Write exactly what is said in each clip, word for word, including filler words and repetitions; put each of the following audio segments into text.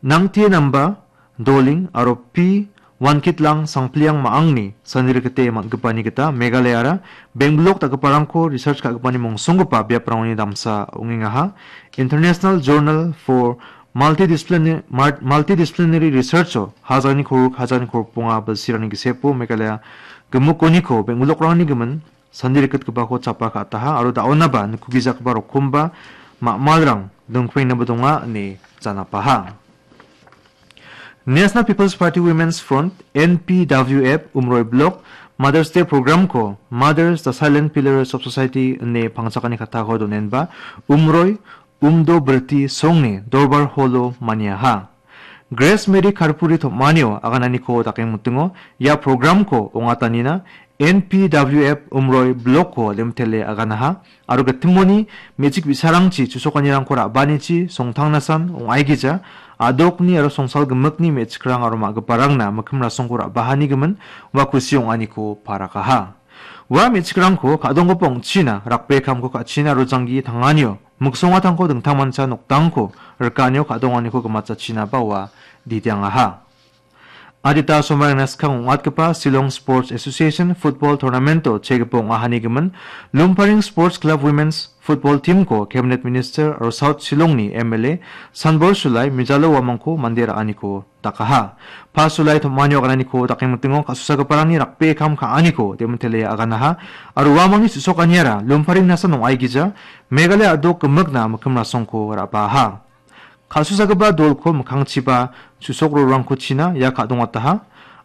Nangtie Namba, Doling aro P Wankitlang Sangpliang Ma·angni sani rikite man·gipani gita Meghalayaara Benglok dakgiparangko research ka·gipani mongsonggipa biaprangoni damsa ong·engaha. International Journal for Multidisciplina-, Mar-, Multidisciplinary Research-o hajalni korok, hajalni korokbonga bilsirangni gisepo Meghalaya gimikoniko Benglokrangni gimin sandi rikgitgipako chapa ka·ataha aro da·onaba nikugijagipa rokomba ma·malrang dingpengnaba donga ine janapaha. National People's Party Women's Front, N P W F, Umroi Block, Mother's Day Program-ko Mothers, the Silent Pillars of Society ine pangchakani kattako donenba, Umroi, Umdo Birti Songni Dorbar Hall-o maniaha. Grace Mary Karpuri tom·anio agananiko dakengmitingo ia program-ko ong·atanina N P W F Umroi Block-ko limtele aganaha aro gitimoni me·chik bi·sarangchi chusokanirangko ra·banichi songtangnasan ong·aigija adokni aro songsal gimikni me·chikrang aro ma·giparangna mikkim rasongko ra·bahani gimin ua kusi ong·aniko parakaha. Ua me·chikrangko ka·donggipa ong·china rakbe kamko ka·china aro janggi tanganio miksongatangko dingtangmancha nokdangko rikanio ka·donganiko gimatjachinaba ua didiangaha. Adita somarangna skang ong·atgipa Shillong Sports Association Football Tournament-o chegipa ong·ahani gimin Lumparing Sports Club Women's Football Team-ko Cabinet Minister aro South Shillongni M L A Sanbor Sulai mijalo uamangko mande ra·aniko dakaha. Pasulai tom·anio agananiko dakengmitingo ka·susagiparangni rakbe kam ka·aniko demontele aganaha. Aro uamangni su·sokaniara Lumparing nasan ong·aigija Meghalaya a·dok gimikna mikkim rasongko ra·baha. Ka·susagipa dolko mikkangchiba su·sokrarangko china ia ka·dongataha.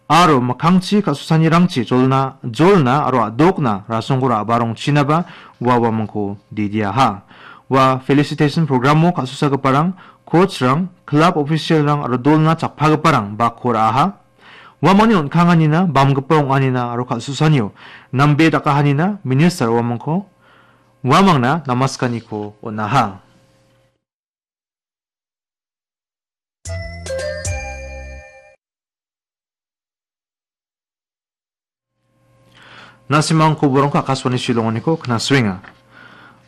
Aro mikkangchi ka·susanirangchi jolna, jolna aro a·dokna rasongko ra·barongchinaba ua uamangko didiaha. Ua felicitation program-o ka·susagiparang coach-rang, club official-rang aro dolna chappagiparang bakko ra·aha. Uamangni on·kanganina, bamgipa ong·anina aro kal·susanio nambe dakahanina minister uamangko, uamangna namaskaniko on·aha. Na·simang koborongko Akashvani Shillongoniko knasuenga.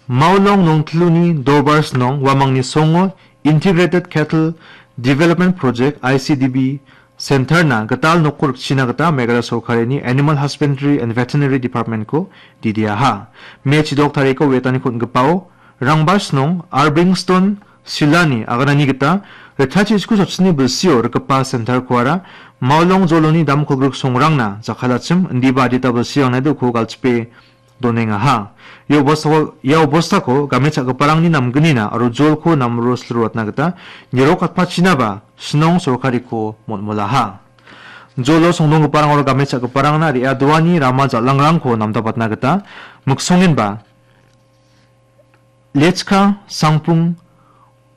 Maulong Nongtluni Dorbar Snong uamangni songo Integrated Cattle Development Project, I C D B, Center-na gital nokko rikchina gita Meghalaya sorkarini Animal Husbandry and Veterinary Department-ko didiaha. Me chidok tariko wetaniko on·gipao Rangbar Snong, Arbingstone, Silani aganani gita ritachi isku chotchini bilsio rikgipa center-koara Maulong joloni damkolgrik songrangna jakkalachim indiba adita bilsirangna uko galchipe donengaha. Ia obostako, ia obostako game cha·giparangni namgnina aro jolko namro silruatna gita nirokatpachinaba Snong sorkariko mol·molaha. Jolo songdonggiparang aro game cha·giparangna re·adoani rama jal·angrangko namdapatna gita miksongenba Lechka Sangpung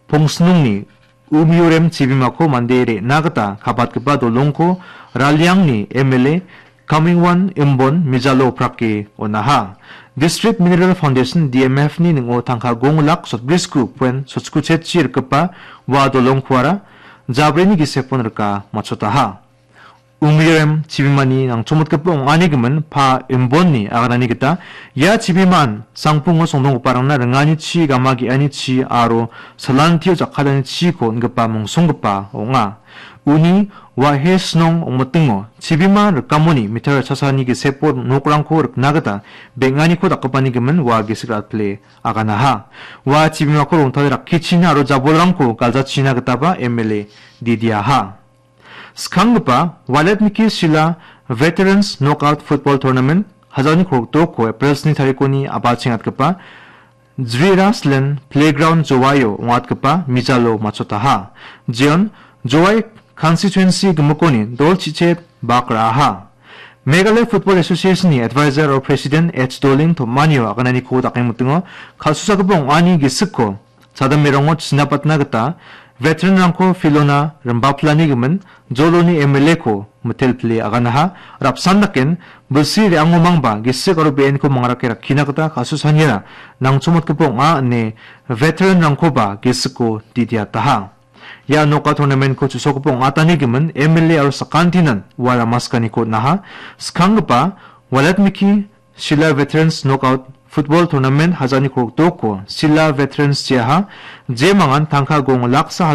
Pongsnungni Umiorem chibimako mande re·na gita kabatgipa dolongko Raliangni M L A Kamingwan Imbon mijalo oprake on·aha. District Mineral Foundation, D M F-ni ning·o tangka gong lak sotbrisku poen sotskochetchi rikgipa ua dolongkoara jabrini gisepon rika matchotaha. Umirem chibimani nangchomotgipa ong·ani gimin Pa Imbonni aganani gita ia chibimaan Sangpungo songdonggiparangna ringani chi, gama ge·ani chi aro salantio jakkalani chiko on·gipa mongsonggipa ong·a. Uni Wahe Snong ong·mitingo chibima rikamoni mitar chasani gisepo nokrangko rikna gita beng·aniko dakgipani gimin ua gisik ra·pile aganaha. Ua chibimako rongtale rakkichina aro jabolrangko galjachina gitaba M L A didiaha. Skanggipa Waletmiki Sila Veterans Knockout Football Tournament hajalni kolgrikdokko April sni tarikoni a·bachengatgipa Jriraslen Playground Jowaio ong·atgipa mijalo matchotaha. Jeon Jowai Constituency gimikoni dol chi·chet bak ra·aha. Meghalaya Football Association-ni Advisor aro President H Doling Tomanio agananiko dakengmitingo kal·susagipa ong·ani gisikko chadamberango chinapatna gita veteran-rangko filona rimbaplani gimin joloni M L A-ko mitelpile aganaha. Rapsan daken bilsi re·angomangba gisik aro be·enko mangrake rakkina gita kal·susaniara nangchomotgipa ong·a ine veteran-rangkoba gisiko didiataha. Ia noka tournament-ko chu·sokgipa ong·atani gimin M L A aro sakantinan ua ramaskaniko on·aha. Skanggipa Walatmiki Sila Veterans Knockout Football Tournament hajalni kolgrikdokko Sila Veterans jeaha, jemangan tangka gong laksa